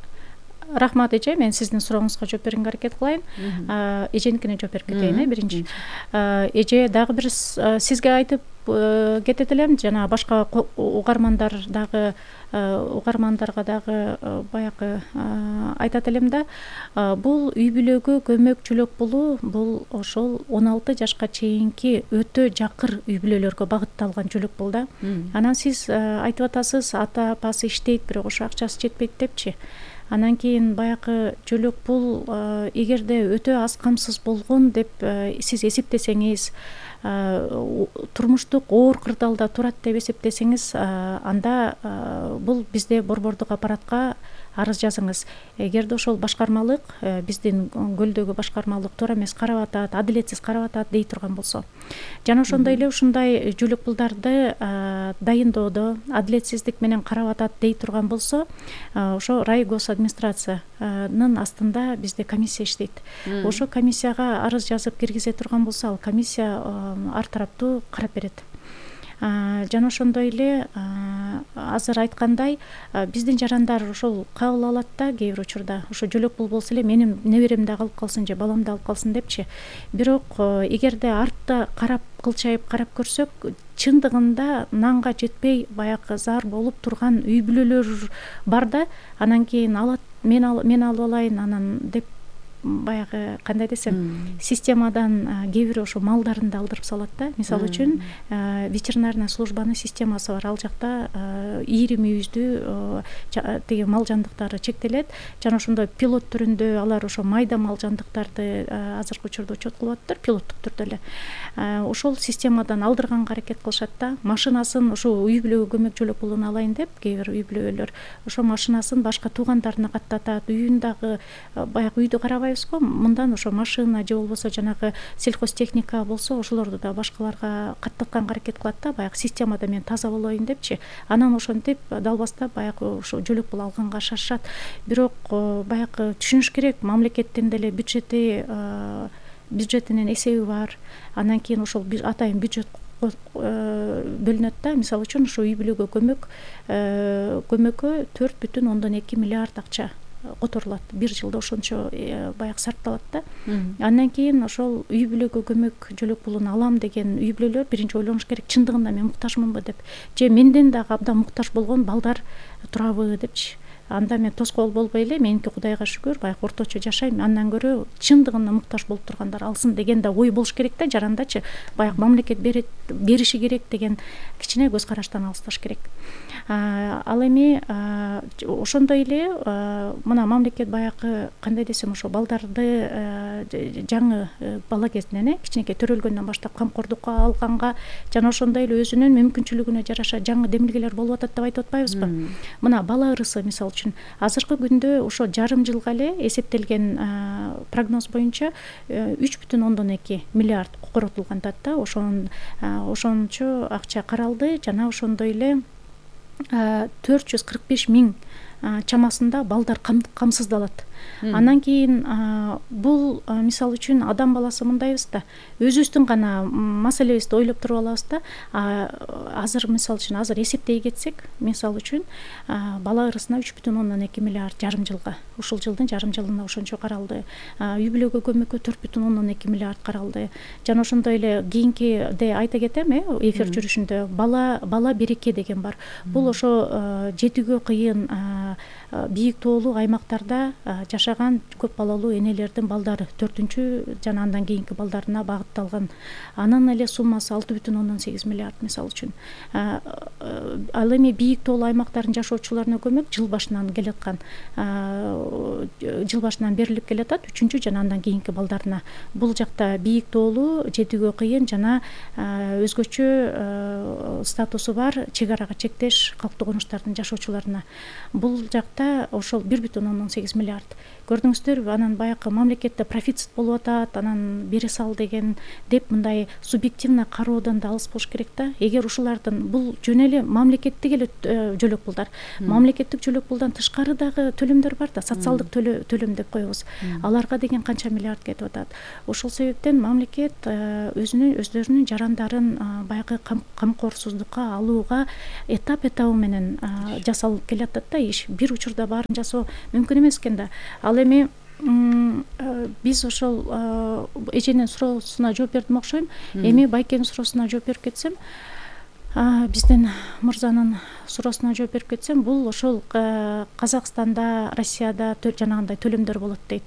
Рахмат эже, мен сиздин сурооңузга жооп берүүгө аракет кылайын. Эженикине жооп берип кетейин, э, биринчи. Эже дагы бир сизге айтып кетет элем, жана башка угармандар дагы угармандарга дагы баягы айтат элем да, бул үй бүлөгө көмөк жөлөк пулу бул ошол он алты жашка чейинки өтө жакыр үй бүлөлөргө багытталган жөлөк пул да. Анан сиз айтып атасыз, ата апасы иштейт, бирок ошо акчасы жетпейт депчи. Анан кийин баягы жөлөк пул эгерде өтө аз камсыз болгон деп сиз эсептесеңиз, турмуштук оор кырдаалда турат деп эсептесеңиз, анда бул бизде борбордук аппаратка арыз жазыңыз. Эгерде ошол башкармалык, биздин көлдөгү башкармалык туура эмес карап атат, адилетсиз карап атат дей турган болсо, жана ошондой эле ушундай жөлөк пулдарды дайындоодо адилетсиздик менен карап атат дей турган болсо, ошо райгосадминистрациянын астында бизде комиссия иштейт. Ошо комиссияга арыз жазып киргизе турган болсо, ал комиссия ар тараптуу карап берет. Жана ошондой эле азыр айткандай, биздин жарандар ошол кабыл алат да кээ бир учурда. Ошо жөлөк пул болсо эле менин неберем да алып калсын же балам да алып калсын депчи. Бирок эгерде артта карап кылчайып карап көрсөк, чындыгында нанга жетпей баягы зар болуп турган үй бүлөлөр бар да, анан кийин алат, мен алып алайын анан деп баягы кандай десем, системадан кээ бирөө ошо малдарын да алдырып салат да. Мисалы үчүн ветеринарная службанын системасы бар, ал жакта ийри мүйүздүү тиги мал жандыктары чектелет, жана ошондой пилот түрүндө алар ошо майда мал жандыктарды азыркы учурда учет кылып атыптыр, пилоттук түрдө эле. Ошол системадан алдырганга аракет кылышат да. Машинасын ошо үй бүлөгө көмөк жөлөк пулун алайын деп кээ бир үй бүлөлөр ошо машинасын башка туугандарына каттатат, үйүн дагы баягы үйдү карабайбыз го, мындан ошо машина же болбосо жанагы сельхозтехника болсо ошолорду да башкаларга каттатканга аракет кылат да, баягы системада мен таза болоюн депчи. Анан ошентип далбастап баягы ошо жөлөк пул алганга шашышат. Бирок баягы түшүнүш керек, мамлекеттин деле бюджети бюджетинин эсеби бар. Анан кийин ошол атайын бюджет бөлүнөт да. Мисалы үчүн ошо үй бүлөгө көмөк көмөккө төрт бүтүн ондон эки миллиард акча которулат. Бир жылда ошончо баягы сарпталат да. Андан кийин ошол үй бүлөгө көмөк жөлөк пулун алам деген үй бүлөлөр биринчи ойлонуш керек, чындыгында мен муктажмынбы деп, же менден дагы абдан муктаж болгон балдар турабы депчи. Анда мен тоскоол болбой эле, меники Кудайга шүгүр баягы орточо жашайм, андан көрө чындыгында муктаж болуп тургандар алсын деген да ой болуш керек да жарандачы. Баягы мамлекет берет, бериши керек деген кичине көз караштан алысташ керек. Ал эми ошондой эле мына мамлекет баягы кандай десем, ошо балдарды жаңы бала кезинен э кичинекей төрөлгөндөн баштап камкордукка алганга жана ошондой эле өзүнүн мүмкүнчүлүгүнө жараша жаңы демилгелер болуп атат деп айтып атпайбызбы? Мына бала ырысы мисалы үчүн азыркы күндө ошо жарым жылга эле эсептелген прогноз боюнча үч бүтүн ондон эки миллиард коротулган да. Ошон ошончо акча каралды, жана ошондой эле төрт жүз кырк беш миң чамасында балдар камсыздалат. Андан кийин бул мисалы үчүн адам баласы мындайбыз да, өзүбүздүн гана маселебизди ойлоп туруп алабыз да. Азыр мисалы үчүн азыр эсептей кетсек, мисалы үчүн бала ырысына үч бүтүн ондон эки миллиард жарым жылга, ушул жылдын жарым жылына ошончо каралды. Үй бүлөгө көмөккө төрт бүтүн ондон эки миллиард каралды. Жана ошондой эле кийинкиде айта кетем э эфир жүрүшүндө бала бала береке деген бар. Бул ошо жетүүгө кыйын бийик тоолуу аймактарда жашаган көп балалуу энелердин балдары төртүнчү жана андан кийинки балдарына багытталган. Анын эле суммасы алты бүтүн ондон сегиз миллиард мисалы үчүн. Ал эми бийик тоолуу аймактардын жашоочуларына көмөк жыл башынан келаткан, жыл башынан берилип келатат үчүнчү жана андан кийинки балдарына. Бул жакта бийик тоолуу, жетүүгө кыйын жана өзгөчө статусу бар чек арага чектеш калктуу конуштардын жашоочуларына. Бул жакта ошол бир бүтүн ондон сегиз миллиард. Көрдүңүздөрбү, анан баягы мамлекетте профицит болуп атат, анан бере сал деген деп мындай субъективно кароодон да алыс болуш керек да. Эгер ушулардын бул жөн эле мамлекеттик эле жөлөк пулдар. Мамлекеттик жөлөк пулдан тышкары дагы төлөмдөр бар да, социалдык төлөм деп коебуз. Аларга деген канча миллиард кетип атат. Ошол себептен мамлекет өзүнүн өздөрүнүн жарандарын баягы камкорсуздукка алууга этап этабы менен жасалып келатат да иш. Бир учурда баарын жасоо мүмкүн эмес экен да. Ал эми биз ошол эженин суроосуна жооп бердим окшойм. Эми байкенин суроосуна жооп берип кетсем, биздин мырзанын суроосуна жооп берип кетсем, бул ошол Казакстанда, Россияда жанагындай төлөмдөр болот дейт.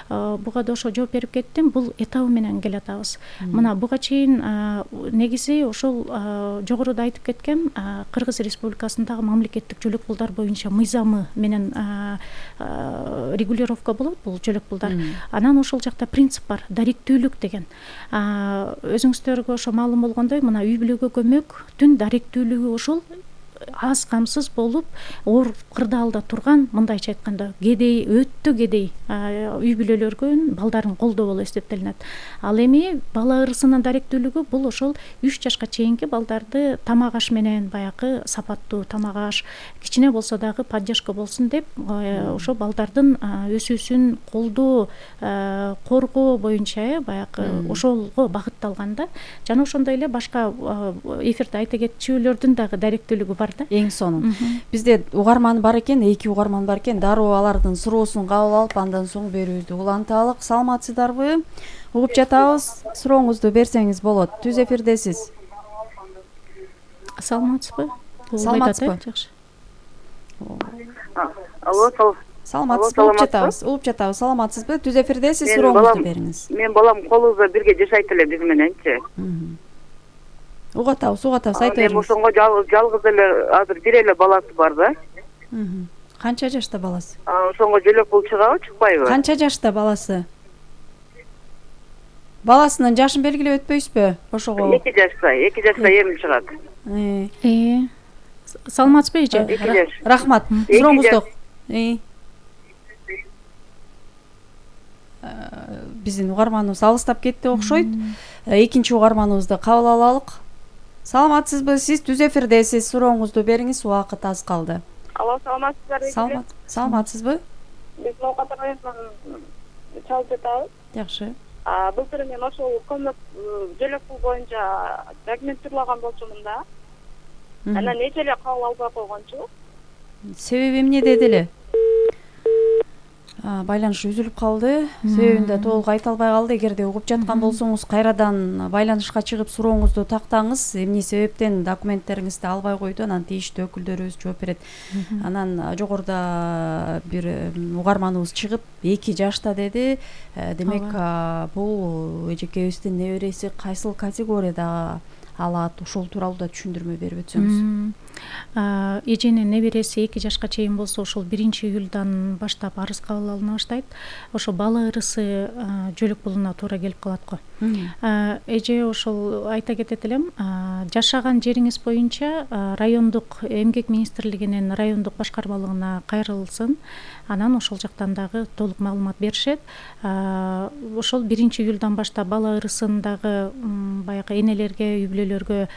Буга да ошо жооп берип кеттим. Бул этабы менен келатабыз. Мына буга чейин негизи ошол жогоруда айтып кеткен Кыргыз Республикасындагы мамлекеттик жөлөк пулдар боюнча мыйзамы менен регулировка болот бул жөлөк пулдар. Анан ошол жакта принцип бар, даректүүлүк деген. Өзүңүздөргө ошо маалым болгондой, мына үй бүлөгө көмөктүн даректүүлүгү ошол аз камсыз болуп оор кырдаалда турган, мындайча айтканда кедей, өтө кедей үй бүлөлөргө балдарын колдоо болуп эсептелинет. Ал эми бала ырысынын даректүүлүгү бул ошол үч жашка чейинки балдарды тамак аш менен баягы сапаттуу тамак аш, кичине болсо дагы поддержка болсун деп ошо балдардын өсүүсүн колдоо, коргоо боюнча баягы ошолго багытталган да. Жана ошондой эле башка эфирде айта кетчүлөрдүн дагы даректүүлүгү бар. Эң сонун. Бизде угарман бар экен, эки угарман бар экен. Дароо алардын суроосун кабыл алып, андан соң берүүбүздү уланталык. Саламатсыздарбы? Угуп жатабыз. Сурооңузду берсеңиз болот. Түз эфирдесиз. Саламатсызбы? Саламатсызбы? Жакшы. Алло, сал. Саламатсызбы? Угуп жатабыз. Угуп жатабыз. Саламатсызбы? Түз эфирдесиз. Сурооңузду бериңиз. Мен балам колубузда бирге жашайт эле биз мененчи. Угатабыз, угатабыз, айта бериңиз. Эми ошонго жалгыз эле азыр бир эле баласы бар да. Канча жашта баласы? Ошонго жөлөк пул чыгабы, чыкпайбы? Канча жашта баласы? Баласынын жашын белгилеп өтпөйсүзбү? Ошого. эки жашта, эки жашта эми чыгат. Э. Саламатсызбы эже? эки жаш. Рахмат. Сурооңузду. Биздин угарманыбыз алыстап кетти окшойт. Экинчи угарманыбызды кабыл алалык. Саламатсызбы? Сиз түз эфирдесиз. Сурооңузду бериңиз, убакыт аз калды. Алло, саламатсыздарбы? Саламат. Саламатсызбы? Биз Ноокат районунан чалып жатабыз. Жакшы. Былтыр мен ошол көмөк жөлөк пул боюнча документтурлаган болчумун да. Анан эже эле кабыл албай койгончу. Себеби эмне деди эле? Байланыш үзүлүп калды. Себебин да толук айта албай калды. Эгерде угуп жаткан болсоңуз, кайрадан байланышка чыгып сурооңузду тактаңыз. Эмне себептен документтериңизди албай койду, анан тийиштүү өкүлдөрүбүз жооп берет. Анан жогоруда бир угарманыбыз чыгып, эки жашта деди. Демек, бул эжекебиздин небереси кайсыл категорияда алат? Ошол тууралуу да түшүндүрмө берип өтсөңүз. Эженин небереси эки жашка чейин болсо, ошол биринчи июлдан баштап арыз кабыл алына баштайт. Ошо бала ырысы жөлөк пулуна туура келип калат го. Эже ошол айта кетет элем, жашаган жериңиз боюнча райондук эмгек министрлигинин райондук башкармалыгына кайрылсын. Анан ошол жактан дагы толук маалымат беришет. Ошол биринчи июлдан баштап бала ырысындагы баягы энелерге, үй бүлөлөргө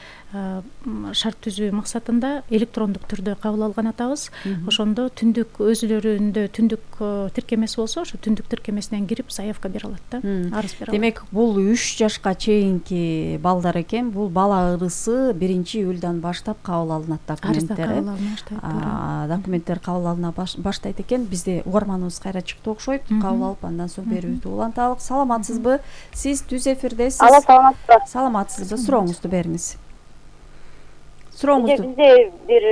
шарт түзүү максатында электрондук түрдө кабыл алган атабыз. Ошондо түндүк өзүлөрүндө түндүк тиркемеси болсо, ошо түндүк тиркемесинен кирип заявка бере алат да, арыз бере алат. Демек, бул үч жашка чейинки балдар экен. Бул бала ырысы биринчи июлдан баштап кабыл алынат документтер. Документтер кабыл алына баштайт экен. Бизде угарманыбыз кайра чыкты окшойт. Кабыл алып, андан соң берүүбүздү уланталык. Саламатсызбы? Сиз түз эфирдесиз. Алло, саламатсызбы? Саламатсызбы? Сурооңузду бериңиз. сурооңузду. Бизде бир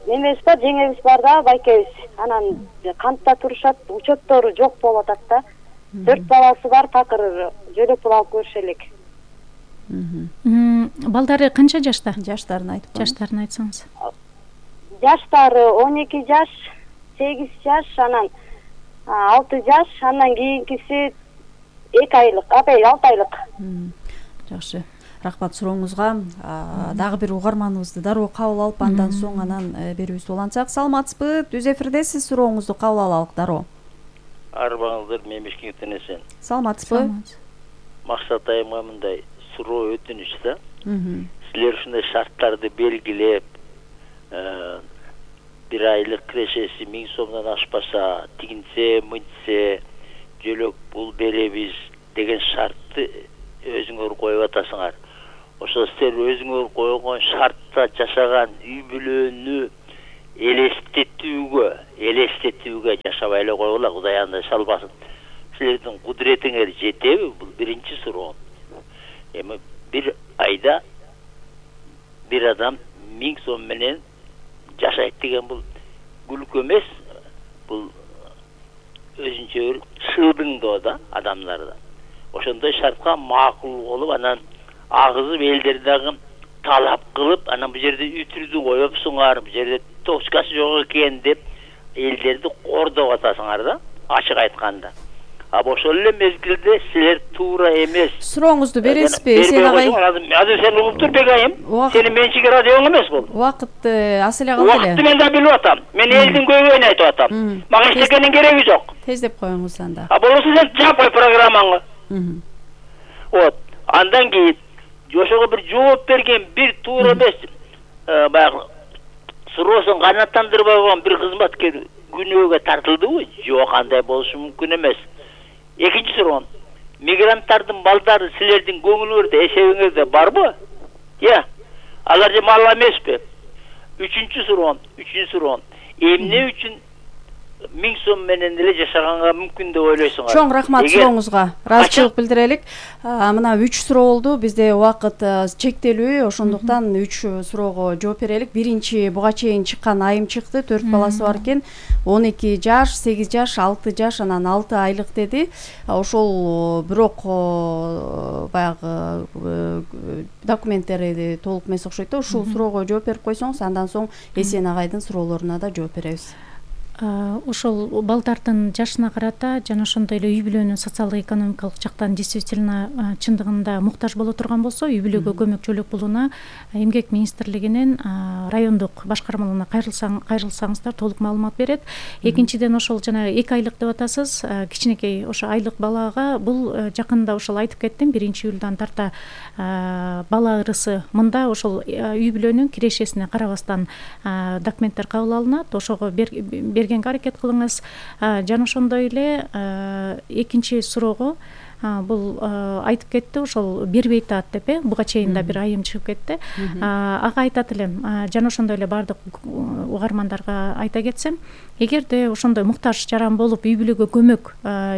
немебиз бар, жеңебиз бар да, байкебиз. Анан кантта турушат, учеттору жок болуп атат да. Төрт баласы бар, такыр жөлөк пул алып көрүшө элек. Балдары канча жашта? Жаштарын айтып. Жаштарын айтсаңыз. Жаштары он эки жаш, сегиз жаш, анан алты жаш, андан кийинкиси эки айлык, апай алты айлык. Жакшы. Рахмат сурооңузга. Дагы бир угарманыбызды дароо кабыл алып, андан соң анан берүүбүздү улантсак. Саламатсызбы? Түз эфирдесиз, сурооңузду кабыл алалык дароо. Арбаңыздар, мен Бишкектен эсен. Саламатсызбы? Максат айымга мындай суроо өтүнүч да. Силер ушундай шарттарды белгилеп, бир айлык кирешеси миң сомдон ашпаса, тигинсе, мынтсе, жөлөк пул беребиз деген шартты өзүңөр коюп атасыңар. Ошо силер өзүңөр койгон шартта жашаган үй бүлөнү элестетүүгө, элестетүүгө жашабай эле койгула, Кудай андай салбасын. Силердин кудуретиңер жетеби? Бул биринчи суроо. Эми бир айда бир адам миң сом менен жашайт деген бул күлкү эмес, бул өзүнчө бир шыдыңдоо да адамдарда. Ошондой шартка макул болуп, анан агызып элдер дагы талап кылып, анан бул жерде үтүрдү коюпсуңар, бул жерде точкасы жок экен деп элдерди кордоп атасыңар да, ачык айтканда. А ошол эле мезгилде силер туура эмес. Сурооңузду бересизби, Эсен агай? Азыр сен угуп тур, Бегайым. Сенин менчиги радиоң эмес бул. Убакыт аз эле калды эле. Убакытты мен да билип атам. Мен элдин көйгөйүн айтып атам. Мага эчтекенин кереги жок. Тездеп коюңуз анда. А болбосо сен жаппай программаңы. Вот. Андан кийин ошого бир жооп берген, бир туура эмес, баягы суроосун канааттандырбай койгон бир кызматкер күнөөгө тартылдыбы? Жок, андай болушу мүмкүн эмес. Экинчи суроо. Мигранттардын балдары силердин көңүлүңөрдө, эсебиңерде барбы? Я. Алар же мал эмеспи? Үчүнчү суроо, үчүнчү суроо. Эмне үчүн миң сом менен эле жашаганга мүмкүн деп ойлойсуңар? Чоң рахмат сурооңузга. Ыраазычылык билдирелик. Мына үч суроо болду. Бизде убакыт чектелүү, ошондуктан үч суроого жооп берелик. Биринчи буга чейин чыккан айым чыкты, төрт баласы бар экен. он эки жаш, сегиз жаш, алты жаш, анан алты айлык деди. Ошол бирок баягы документтери толук эмес окшойт да. Ушул суроого жооп берип койсоңуз, андан соң Эсен агайдын суроолоруна да жооп беребиз. Ошол балдардын жашына карата жана ошондой эле үй бүлөнүн социалдык экономикалык жактан действительно чындыгында муктаж боло турган болсо, үй бүлөгө көмөк жөлөк пулуна эмгек министрлигинин райондук башкармаларына кайрылсаңыздар толук маалымат берет. Экинчиден, ошол жана эки айлык деп атасыз, кичинекей ошо айлык балага бул жакында ошол айтып кеттим, биринчи июлдан тарта бала ырысы мында ошол үй бүлөнүн кирешесине карабастан документтер кабыл алынат. Ошого берген аракет кылыңыз. Жана ошондой эле экинчи суроого бул айтып кетти, ошол бербей атат деп, э, буга чейин да бир айым чыгып кетти. Ага айтат элем, жана ошондой эле бардык угармандарга айта кетсем, эгерде ошондой муктаж жаран болуп үй бүлөгө көмөк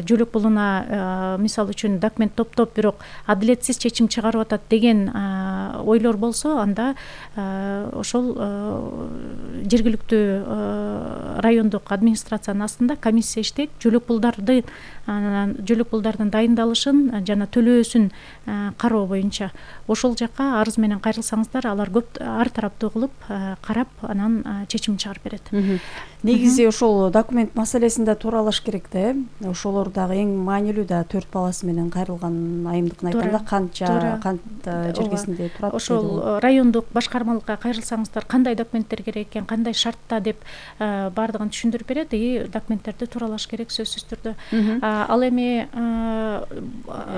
жөлөк пулуна мисалы үчүн документ топтоп, бирок адилетсиз чечим чыгарып атат деген ойлор болсо, анда ошол жергиликтүү райондук администрациянын астында комиссия иштейт, жөлөк пулдарды жөлөк пулдардын дайындалышын жана төлөөсүн кароо боюнча ошол жакка арыз менен кайрылсаңыздар, алар көп ар тараптуу кылып карап, анан чечим чыгарып берет. Негизи ошол документ маселесинде тууралаш керек да, э? Ошолор дагы эң маанилүү да, төрт баласы менен кайрылган айымдыкын айтканда канча кант жергесинде турат. Ошол райондук башкармалыкка кайрылсаңыздар, кандай документтер керек экен, кандай шартта деп бардыгын түшүндүрүп берет, и документтерди тууралаш керек сөзсүз түрдө. Ал эми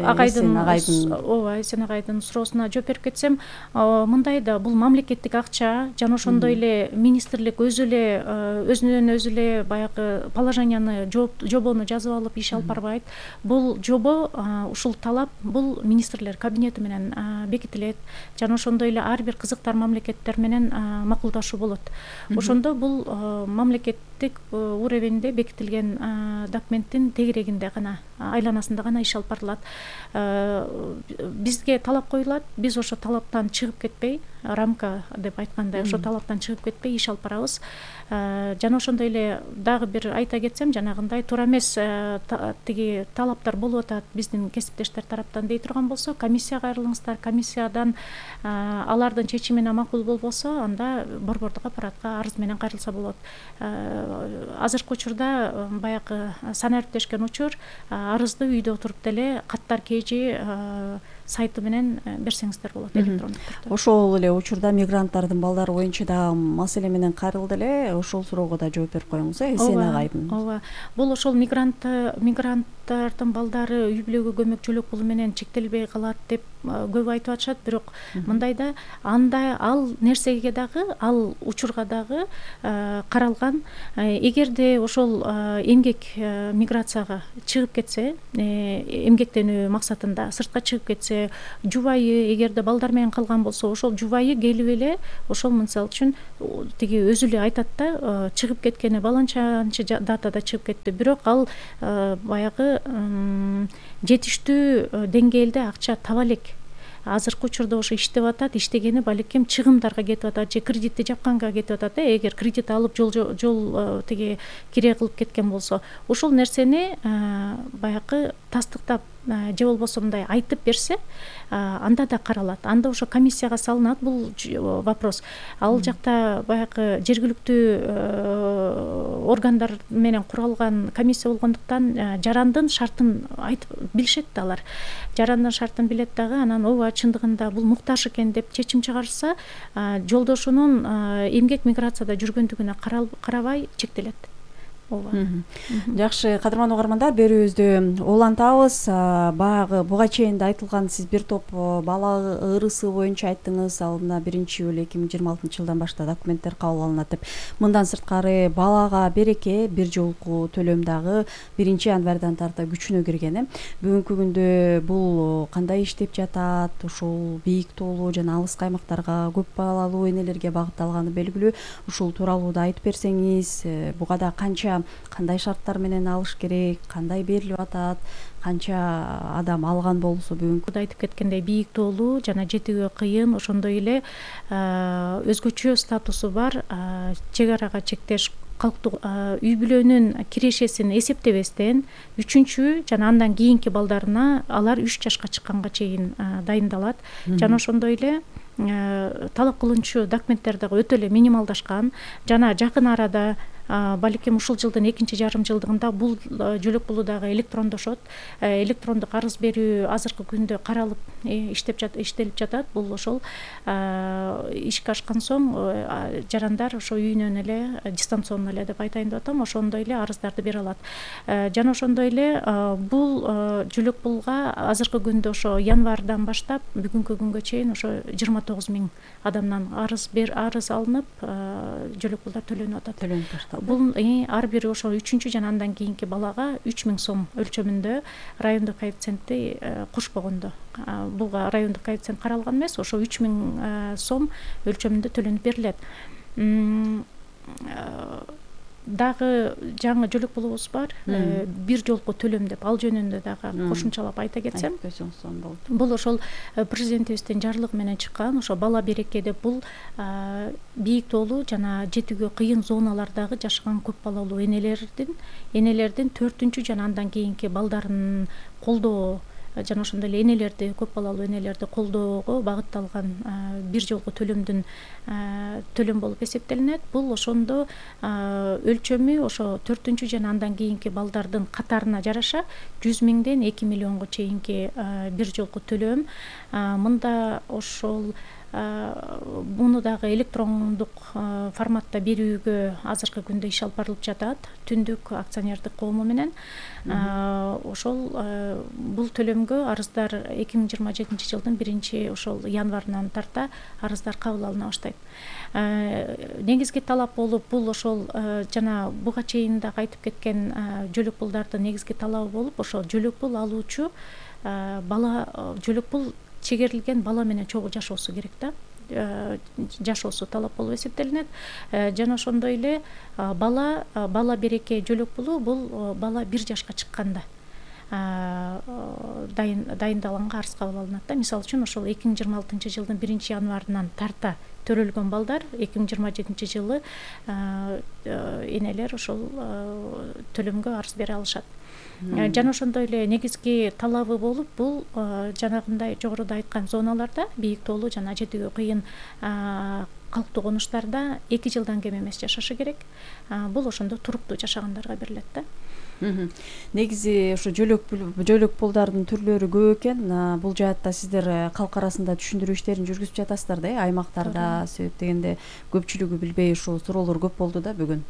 агайдын ооба Эсен агайдын суроосуна жооп берип кетсем, мындай да, бул мамлекеттик акча, жана ошондой эле министрлик өзү эле өзүнөн өзү эле баягы положенияны, жобону жазып алып иш алып барбайт. Бул жобо, ушул талап бул министрлер кабинети менен бекитилет, жана ошондой эле ар бир кызыктар мамлекеттер менен макулдашуу болот. Ошондо бул мамлекет мамлекеттик уровеньде бекитилген документтин тегерегинде гана, айланасында гана иш алып барылат. Бизге талап коюлат, биз ошо талаптан чыгып кетпей, рамка деп айткандай, ошо талаптан чыгып кетпей иш алып барабыз. Жана ошондой эле дагы бир айта кетсем, жанагындай туура эмес тиги талаптар болуп атат биздин кесиптештер тараптан дей турган болсо, комиссияга кайрылыңыздар, комиссиядан алардын чечимине макул болбосо, анда борбордук аппаратка арыз менен кайрылса болот. Азыркы учурда баягы санариптешкен учур арызды үйдө отуруп деле каттар кж сайты менен берсеңиздер болот, электрондук түрдө. Ошол эле учурда мигранттардын балдары боюнча да маселе менен кайрылды эле, ошол суроого да жооп берип коюңуз, э, Эсен агайдын. Ооба. Бул ошол мигрант мигранттардын балдары үй бүлөгө көмөк жөлөк пулу менен чектелбей калат деп көп айтып атышат, бирок мындайда андай ал нерсеге дагы, ал учурга дагы каралган. Эгерде ошол эмгек миграцияга чыгып кетсе, эмгектенүү максатында сыртка чыгып кетсе, жубайы эгерде балдар менен калган болсо, ошол жубайы келип эле ошол мисалы үчүн тиги өзү эле айтат да, чыгып кеткени баланчанчы датада чыгып кетти, бирок ал баягы жетиштүү деңгээлде акча таба элек. Азыркы учурда ошо иштеп атат, иштегени балеким чыгымдарга кетип атат же кредитти жапканга кетип атат. Эгер кредит алып жол жол тиги кире кылып кеткен болсо, ошол нерсени баягы тастыктап же болбосо мындай айтып берсе, анда да каралат. Анда ошо комиссияга салынат бул вопрос. Ал жакта баягы жергиликтүү органдар менен куралган комиссия болгондуктан жарандын шартын айтып билишет да алар. Жарандын шартын билет дагы, анан ооба чындыгында бул муктаж экен деп чечим чыгарса, жолдошунун эмгек миграцияда жүргөндүгүнө карабай чектелет. Жакшы, кадырман угармандар, берүүбүздү улантабыз. Баягы буга чейин да айтылган, сиз бир топ бала ырысы боюнча айттыңыз. Ал мына биринчи июль эки миң жыйырма алтынчы жылдан баштап документтер кабыл алынат деп. Мындан сырткары балага береке бир жолку төлөм дагы биринчи январдан тарта күчүнө кирген. Бүгүнкү күндө бул кандай иштеп жатат? Ушул бийик тоолуу жана алыс аймактарга көп балалуу энелерге багытталганы белгилүү. Ушул тууралуу да айтып берсеңиз, буга да канча кандай шарттар менен алыш керек, кандай берилип атат, канча адам алган болсо бүгүнкү айтып кеткендей бийик тоолуу жана жетүүгө кыйын, ошондой эле өзгөчө статусу бар, чек арага чектеш калктуу үй бүлөнүн кирешесин эсептебестен үчүнчү жана андан кийинки балдарына алар үч жашка чыкканга чейин дайындалат. Жана ошондой эле талап кылынчу документтер дагы өтө эле минималдашкан жана жакын арада балким ушул жылдын экинчи жарым жылдыгында бул жөлөк пулу дагы электрондошот. Электрондук арыз берүү азыркы күндө каралып иштеп иштелип жатат. Бул ошол ишке ашкан соң жарандар ошо үйүнөн эле дистанционно эле деп айтайын деп атам, ошондой эле арыздарды бере алат. Жана ошондой эле бул жөлөк пулга азыркы күндө ошо январдан баштап бүгүнкү күнгө чейин ошо жыйырма тогуз миң адамдан арыз бер арыз алынып, жөлөк пулдар төлөнүп атат. Төлөнүп атат. Бул ар бири ошо үчүнчү жана андан кийинки балага үч миң сом өлчөмүндө райондук коэффициентти кошпогондо. Буга райондук коэффициент каралган эмес, ошо үч миң сом өлчөмүндө төлөнүп берилет. Дагы жаңы жөлөк пулубуз бар, бир жолку төлөм деп, ал жөнүндө дагы кошумчалап айта кетсем. Бул ошол президентибиздин жарлыгы менен чыккан, ошо бала береке деп, бул бийик тоолуу жана жетүүгө кыйын зоналардагы жашаган көп балалуу энелердин энелердин төртүнчү жана андан кийинки балдарын колдоо жана ошондой эле энелерди, көп балалуу энелерди колдоого багытталган бир жолку төлөмдүн төлөм болуп эсептелинет. Бул ошондо өлчөмү ошо төртүнчү жана андан кийинки балдардын катарына жараша жүз миңден эки миллионго чейинки бир жолку төлөм. Мында ошол муну дагы электрондук форматта берүүгө азыркы күндө иш алып барылып жатат, Түндүк акционердик коому менен. Ошол бул төлөмгө арыздар эки миң жыйырма жетинчи жылдын биринчи ошол январынан тарта арыздар кабыл алына баштайт. Негизги талап болуп, бул ошол жана буга чейин дагы айтып кеткен жөлөк пулдардын негизги талабы болуп, ошол жөлөк пул алуучу бала жөлөк пул чегерилген бала менен чогуу жашоосу керек да. жашоосу талап болуп эсептелинет. Жана ошондой эле бала бала береке жөлөк булуу бул бала бир жашка чыкканда дайындалганга арыз кабыл алынат да. Мисалы үчүн ошол эки миң жыйырма алтынчы жылдын биринчи январынан тарта төрөлгөн балдар эки миң жыйырма жетинчи жылы энелер ошол төлөмгө арыз бере алышат. Жана ошондой эле негизги талабы болуп бул жанагындай жогоруда айткан зоналарда, бийик тоолуу жана жетүүгө кыйын калктуу конуштарда эки жылдан кем эмес жашашы керек. Бул ошондо туруктуу жашагандарга берилет да. Негизи ушу жөлөк жөлөк пулдардын түрлөрү көп экен. Бул жаатта сиздер калк арасында түшүндүрүү иштерин жүргүзүп жатасыздар да, аймактарда. Себеп дегенде көпчүлүгү билбей ушул суроолор көп болду да бүгүн.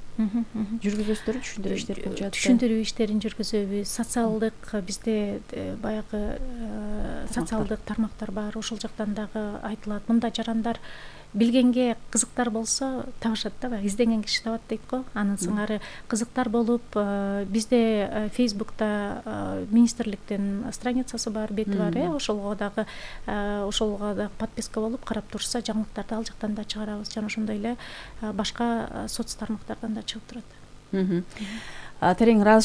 Жүргүзөсүздөр түшүндүрүү иштери бул жаатта. Түшүндүрүү иштерин жүргүзөбүз. Социалдык бизде баягы социалдык тармактар бар. Ошол жактан дагы айтылат. Мындай жарандар билгенге кызыктар болсо табышат да, баягы изденген киши табат дейт го. Анын сыңары кызыктар болуп, бизде Фейсбукта министрликтин страницасы бар, бети бар, э, ошолго дагы ошолго дагы подписка болуп карап турса, жаңылыктарды ал жактан да чыгарабыз. Жана ошондой эле башка соц тармактардан да чыгып турат. Терең ыраазычылык